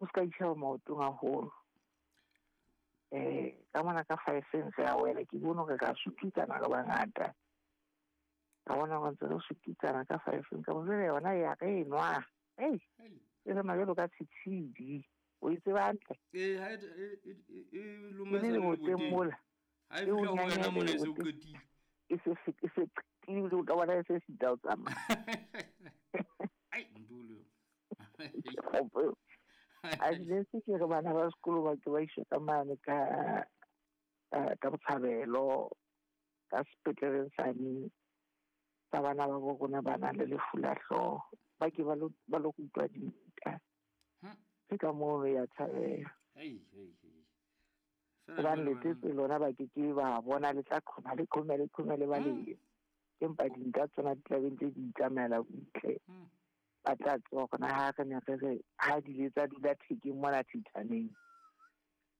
O se ka itjheba maotong haholo. Ka mona ka 5 re a wela, ke bone hore ra sututsana re bangata. Ka bona hore ntse re sututsana ka 5 ka jwale yona ya re nwa. Ei, e re jwalo ka tshitshidi. O e tseba hantle? Ee, ha e loma sa le boteng mola. Ha e fihla ho wena mona e se o qetile. E se qetile, o ka bona e se sita o tsamaya. Ai, ndulo. A ne se ke re bana ba sekolo ba ke ba iswe ka mane ka Botshabelo, ka sepetleleng sane tsa bana ba bo rona ba nang le lefu la hlooho. Ba ke ba lo rutwa dinta. Ke ka moo ya tshabeha. Hobane letsetse lona ba ke ke ba bona le tla qhoma le qhome le qhome le ba le. Empa dinta tsona di tla be ntse di itsamaela butle. Ba tla tseba hore na ha re ne re re ha di le tsa dula thekeng mona thithaneng.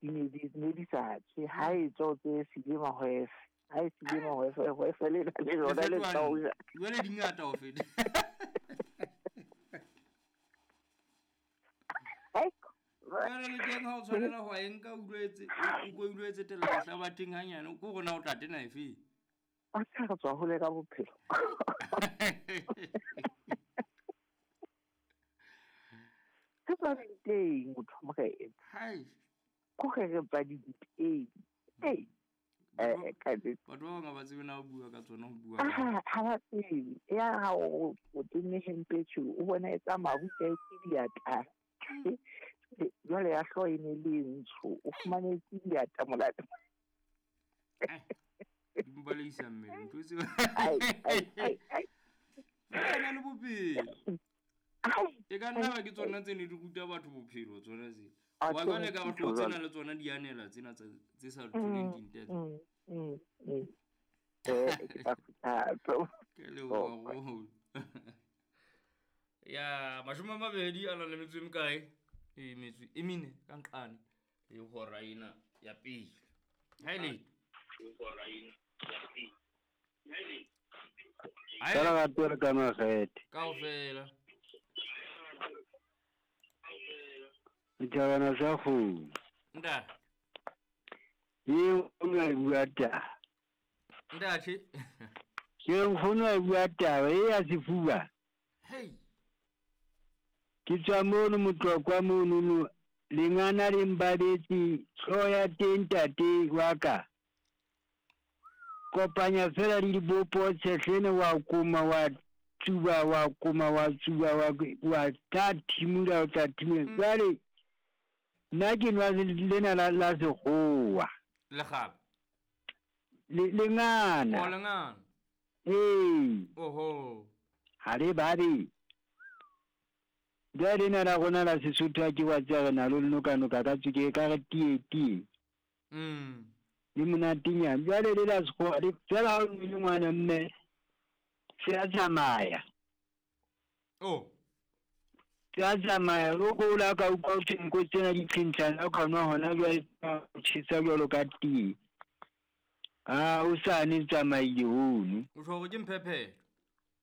Di ne di sa tswe, ha e tswa o tsebe sile mahwefe. Ha e sile mahwefe, hwefe le le lona le tla o ja. Jwale di ngata ho feta. Jwale le teng ha o tshwanela ho e nka o utlwetse o etse tela lehlabatheng hanyane, ko rona o tla tena efe? A sa re tswa hole ka bophelo. Ke tswa dinteng motho morena. Hai. Ko re re tswa dinteng. Ei. Ka batho ba bang ha ba tsebe na ho bua ka tsona, ho bua. Ha ba tsebe. Ya ha o tenne hempe tjho, o bona e tsamaya butle ke diatla. Jwale ya hlooho e ne le ntsho, o fumane ke diatla molato. Di mbaleisa mmele, ntho tseo. Ai. Fela le bophelo. E ka nna ba ke tsona tse ne di ruta batho bophelo tsona tse. Wa jwale ka batho tsena le tsona di anela tsena tse sa tholeng dintho. Ke Ke leboha haholo. Ya 20 a nang le metso e mekae? E metso e mene ka nqane le hora ena ya pele. Ha ile. Fela ga pele ka makgethe. Kaofela. Dithabana tsa kgomo. Ntate. Eo o ne a bua taba. Ntate. Ke nkgono a bua taba e ya sefuba. Hey. Ke tswa mono Motlokwa mono lengana le mbabetse hlooho ya teng ntate wa ka. Kopanya fela le dibopo tshehlene wa koma wa tsuba wa koma wa tsuba wa tla thimula o tla thimula. Jwale nna ke nwa lena la sekgowa. Lekgaba. Lengana. O lengana. Ee. Oho. Ha le babe. Jwale lena la rona la Sesotho ha ke wa tseba re na le nokanoka ka tswekere ka re tie tie. Le monatenyana. Jwale le la sekgowa le fela ha o nwele ngwana mme se a tsamaya. Oh. Se a tsamaya o ko la ka utlwa ho thwe nko tsena di tshentshana o ka nwa hona jwale o tjhesa jwalo ka tee. Ah, o sane tsamaile hono. O tjho hore ke mphephelo.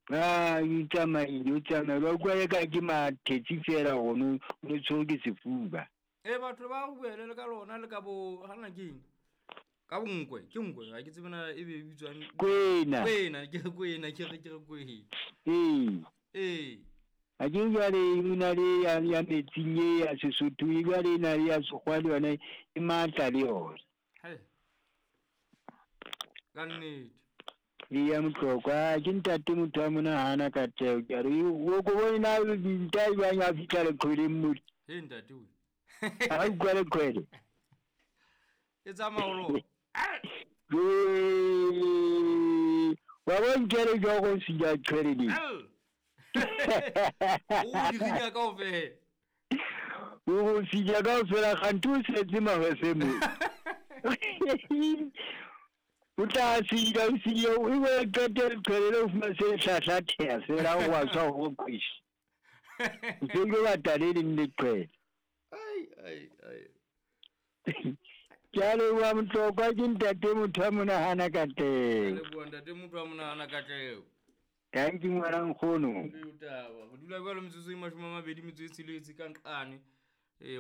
Ah, o tsamaile, o tsamaile. Wa utlwa eka ke mathetsi fela hono, o tshwerwe ke sefuba. E batho ba buele le ka lona le ka bo hana keng? Ka bonkwe, ke nkwe, ha ke tsebe na e be e bitswang Kwena. Kwena, ke re kwena, ke re kwena. Ee. Ee. Ha ke jwale o na le ya metsing e ya Sesotho, e jwale e na le ya sekgowa le yona e matla le yona. Hai. Ka nnete. E ya Motlokwa, ke ntate motho wa monahana ka teo. Ke re o ko bone na nta jwang a fihla leqhweleng mole. He ntate we. Ha utlwa leqhwele. E tsamaya ho lona. Wa bonkele jwa go sija qhwele le. O di rinya kaofela. O sija kaofela kganthe o setse mahwefe mo. O tla sija o sija o e qete leqhwele le o fumane se hlahlatheha fela o wa tswa ho kweshe. O se o batla le leng leqhwele. Ai ai ai. Ke a leboha Motlokwa, ke ntate motho wa monahana ka teng. Leboha ntate motho wa monahana ka teng. Thank you ngwana nkgono. Ke taba. Re dula jwalo metsotso e 26 ka nqane. Ee.